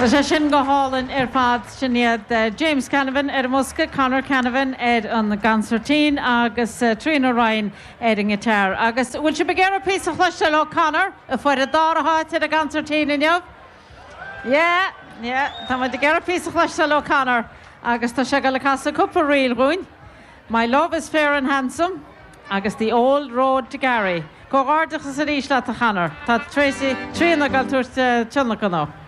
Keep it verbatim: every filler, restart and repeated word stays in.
Tá sé sin go hálainn ar fad sin iad uh, James Canavan ar an mbosca, Conor Canavan ar an gconsairtín agus uh, Tríona Ryan ar an ngiotár. Agus bhfuil sibh ag iarraidh píosa a chloisteáil ó Conor a fuair an dara háit ar an gconsairtín inniu? Yeah, yeah, Tá muid ag iarraidh píosa a chloisteáil ó Conor agus tá sé ag gabháil a chasadh cúpla ríl dúinn. My love is fair and handsome agus the old road to Gary. Comhghairdeachas arís leat a Chonor, Tá Tracy Tríona ag tabhairt tionlacan.